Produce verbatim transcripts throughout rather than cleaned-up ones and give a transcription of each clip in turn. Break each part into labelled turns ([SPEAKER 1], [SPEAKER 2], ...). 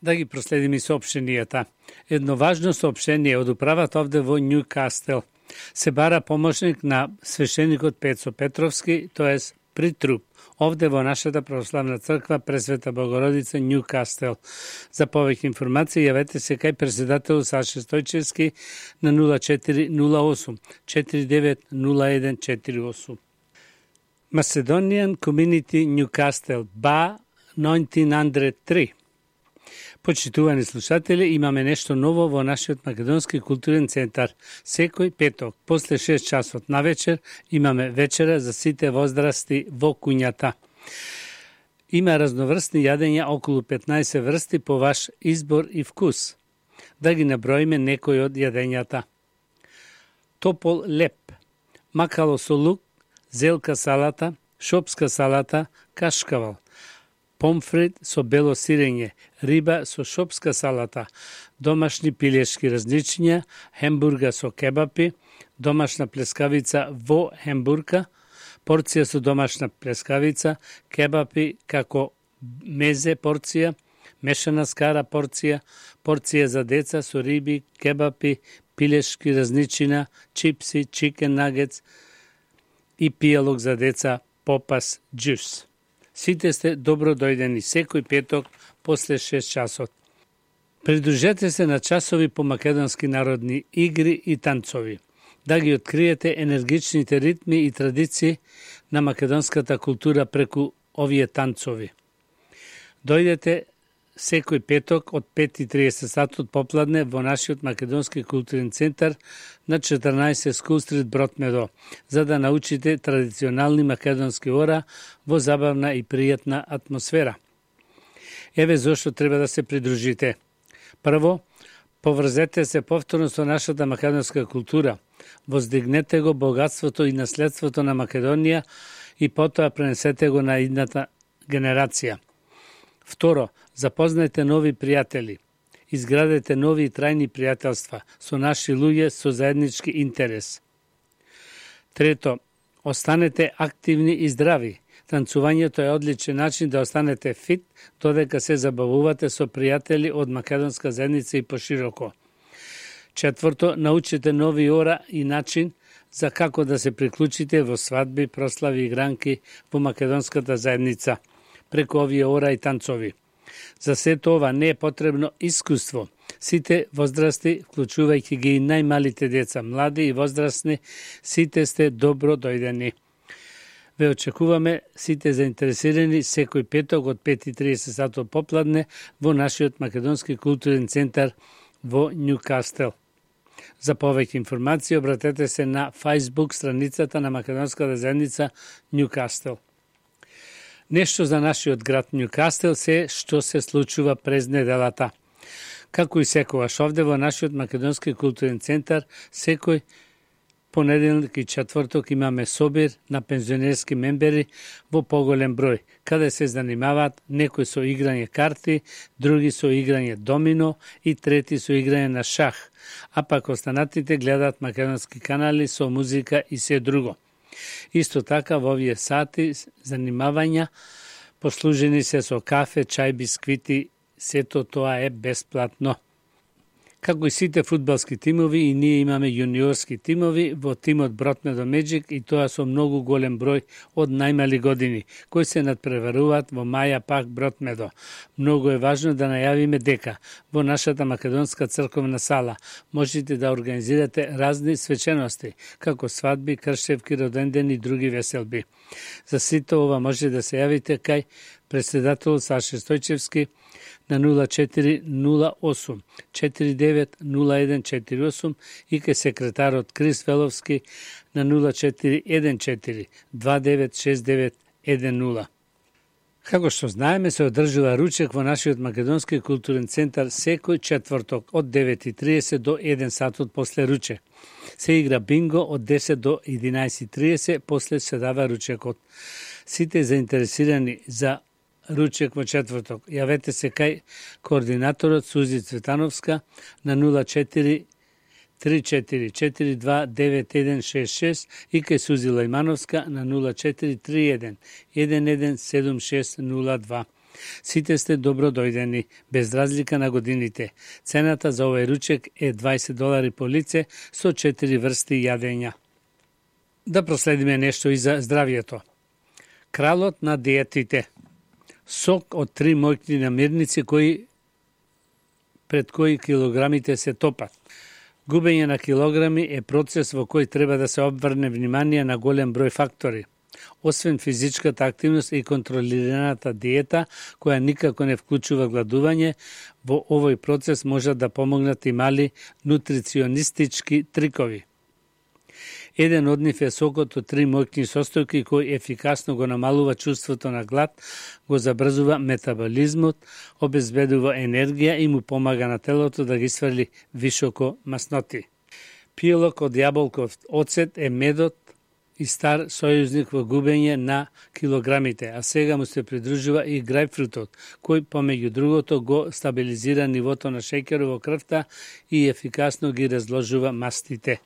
[SPEAKER 1] Да ги проследиме соопштенијата. Едно важно соопштение од управата овде во Њукастел. Се бара помошник на свештеникот Пецо Петровски, тоест притруп, овде во нашата православна црква Пресвета Богородица Њукастел. За повеќе информации јавете се кај председател Саше Стојчевски на нула четири нула осум четири девет нула еден четири осум. Macedonian Community Newcastle, B A деветнаесет зет три. Почитувани слушатели, имаме нешто ново во нашиот македонски културен центар. Секој петок, после шест часот на вечер, имаме вечера за сите возрасти во куњата. Има разноврстни јадења, околу петнаесет врсти по ваш избор и вкус. Да ги наброиме некои од јадењата. Топол леп, макало со лук, зелка салата, шопска салата, кашкавал, помфрит со бело сирење, риба со шопска салата, домашни пилешки разничиња, хембурга со кебапи, домашна плескавица во хембурга, порција со домашна плескавица, кебапи како мезе порција, мешана скара порција, порција за деца со риби, кебапи, пилешки разничина, чипси, чикен нагетс и пијалок за деца, попас, джус. Сите сте добро дојдени секој петок после шест часот. Придружете се на часови по македонски народни игри и танцови, да ги откриете енергичните ритми и традиции на македонската култура преку овие танцови. Дојдете секој петок од пет и триесет сатот попладне во нашиот македонски културен центар на четрнаесет School Street Бротмедо, за да научите традиционални македонски ора во забавна и пријатна атмосфера. Еве зошто треба да се придружите. Прво, поврзете се повторно со нашата македонска култура, воздигнете го богатството и наследството на Македонија и потоа пренесете го на идната генерација. Второ, запознајте нови пријатели. Изградете нови и трајни пријателства со наши луѓе со заеднички интерес. Трето, останете активни и здрави. Танцувањето е одличен начин да останете фит, додека се забавувате со пријатели од македонска заедница и пошироко. Четврто, научите нови ора и начин за како да се приклучите во свадби, прослави и гранки во македонската заедница, преку овие ора и танцови. За сето ова не е потребно искуство. Сите возрасти, вклучувајќи ги и најмалите деца, млади и возрастни, сите сте добро дојдени. Ве очекуваме сите заинтересирани секој петок од пет и триесет сатот попладне во нашиот македонски културен центар во Њукастел. За повеќе информации обратете се на Facebook страницата на македонската заедница Њукастел. Нешто за нашиот град Њукастел се што се случува през неделата. Како и секогаш овде во нашиот македонски културен центар, секој понеделник и четврток имаме собир на пензионерски мембери во поголем број, каде се занимаваат некои со играње карти, други со играње домино и трети со играње на шах, а пак останатите гледаат македонски канали со музика и се друго. Исто така во овие сати занимавања послужени се со кафе, чај, бисквити, сето тоа е бесплатно. Како и сите фудбалски тимови, и ние имаме јуниорски тимови во тимот Бротмедо Меджик, и тоа со многу голем број од најмали години, кои се надпреваруваат во Маја Пак Бротмедо. Многу е важно да најавиме дека во нашата македонска црковна сала можете да организирате разни свечености, како свадби, кршевки, родендени и други веселби. За сите ова може да се јавите кај председател Саше Стојчевски на нула четири нула осум четири девет нула еден четири осум и кај секретарот Крис Веловски на нула четири еден четири два девет шест девет еден нула. Како што знаеме, се одржува ручек во нашиот македонски културен центар секој четврток од девет и триесет до еден сатот после ручек. Се игра бинго од десет до единаесет и триесет, после се дава ручекот. Сите заинтересирани за ручек во четврток, јавете се кај координаторот Сузи Цветановска на нула четири три четири четири два девет еден шест шест и кај Сузи Лајмановска на нула четири три еден еден еден седум шест нула два. Сите сте добро дојдени, без разлика на годините. Цената за овој ручек е дваесет долари по лице со четири врсти јадења. Да проследиме нешто и за здравието. Кралот на диетите. Сок од три моќни намирници кои пред кои килограмите се топат. Губење на килограми е процес во кој треба да се обврне внимание на голем број фактори. Освен физичката активност и контролираната диета, која никако не вклучува гладување, во овој процес може да помогнат и мали нутриционистички трикови. Еден од нив е сокот од три моќни состојки кој ефикасно го намалува чувството на глад, го забрзува метаболизмот, обезбедува енергија и му помага на телото да ги сврли високо масноти. Пилок од јаболков оцет е медот и стар сојузник во губење на килограмите, а сега му се придружува и грајпфрутот, кој помеѓу другото го стабилизира нивото на шеќер во крвта и ефикасно ги разложува мастите.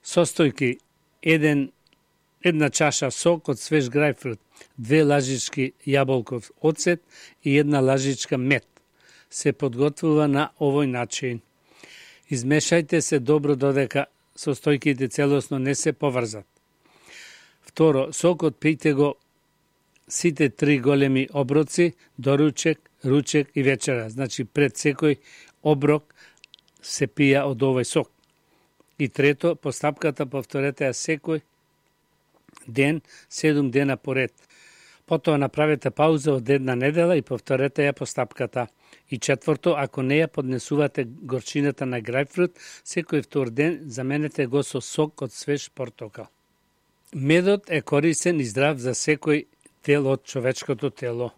[SPEAKER 1] Состојки: еден, една чаша сок од свеж грајпфрут, две лажички јаболков оцет и една лажичка мед. Се подготвува на овој начин. Измешајте се добро додека состојките целосно не се поврзат. Второ, сокот пијте го сите три големи оброци, доручек, ручек и вечера. Значи, пред секој оброк се пија од овој сок. И трето, постапката повторете ја секој ден, седум дена поред. Потоа направете пауза од една недела и повторете ја постапката. И четврто, ако не ја поднесувате горчината на грајпфрут, секој втор ден заменете го со сок од свеж портокал. Медот е корисен и здрав за секој дел од човечкото тело.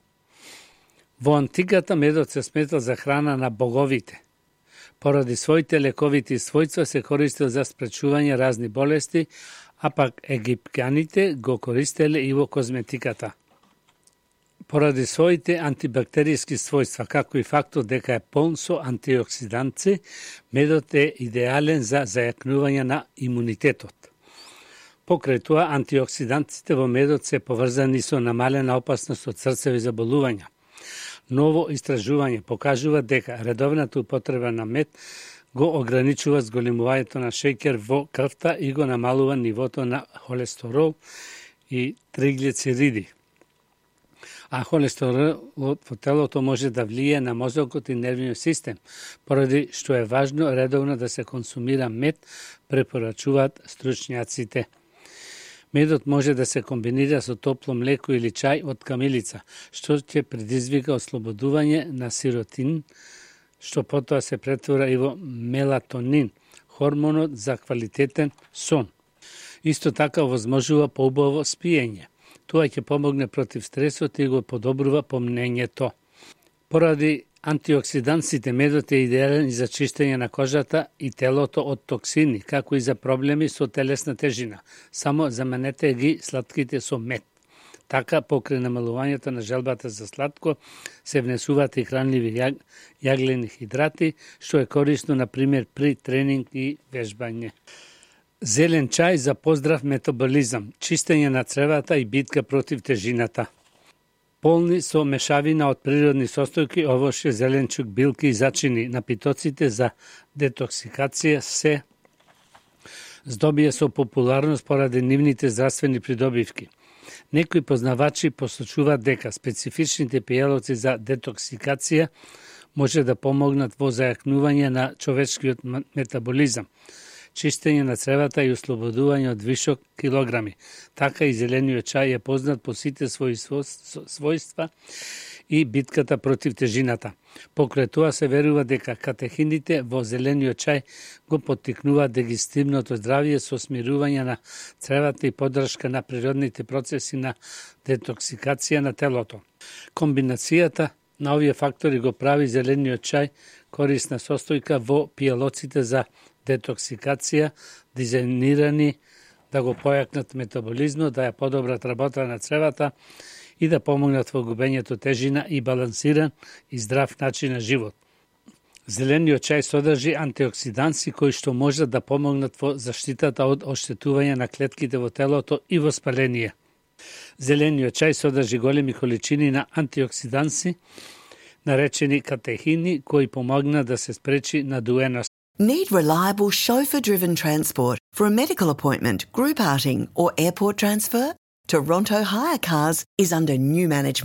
[SPEAKER 1] Во антиката медот се сметал за храна на боговите. Поради своите лековити својства се користел за спречување разни болести, а пак египќаните го користеле и во козметиката. Поради своите антибактериски својства, како и фактот дека е полн со антиоксиданци, медот е идеален за зајакнување на имунитетот. Покрај тоа, антиоксиданците во медот се поврзани со намалена опасност од срцеви заболувања. Ново истражување покажува дека редовната употреба на мед го ограничува зголемувањето на шеќер во крвта и го намалува нивото на холестерол и триглицериди. А холестеролот во телото може да влие на мозокот и нервниот систем, поради што е важно редовно да се консумира мед, препорачуваат стручњаците. Медот може да се комбинира со топло млеко или чај од камилица, што ќе предизвика ослободување на сиротин, што потоа се претвора и во мелатонин, хормонот за квалитетен сон. Исто така возможува поубаво спиење. Тоа ќе помогне против стресот и го подобрува помнењето. Поради антиоксиданците, медот е идеален и за чистење на кожата и телото од токсини, како и за проблеми со телесна тежина. Само заменете ги сладките со мед. Така, покрај намалувањето на желбата за сладко, се внесуваат и хранливи ја... јаглени хидрати, што е корисно, например, при тренинг и вежбање. Зелен чај за поздрав метаболизам, чистење на цревата и битка против тежината. Полни со мешавина од природни состојки, овоше, зеленчук, билки и зачини, напитоците за детоксикација се здобија со популарност поради нивните здравствени придобивки. Некои познавачи посочуваат дека специфичните пијалоци за детоксикација може да помогнат во зајакнување на човечкиот метаболизам, чистење на цревата и ослободување од вишок килограми. Така и зелениот чај е познат по сите своји својства и битката против тежината. Покрај тоа се верува дека катехините во зелениот чај го поттикнуваат дигестивното здравје со смирување на цревата и поддршка на природните процеси на детоксикација на телото. Комбинацијата на овие фактори го прави зелениот чај корисна состојка во пијалоците за детоксикација, дизајнирани да го појакнат метаболизмот, да ја подобрат работа на цревата и да помогнат во губењето тежина и балансиран и здрав начин на живот. Зелениот чај содржи антиоксиданси кои што можат да помогнат во заштитата од оштетување на клетките во телото и воспаление. Зелениот чај содржи големи количини на антиоксиданси, наречени катехини, кои помогна да се спречи надуеност.
[SPEAKER 2] Need reliable chauffeur-driven transport for a medical appointment, group outing or airport transfer? Toronto Hire Cars is under new management.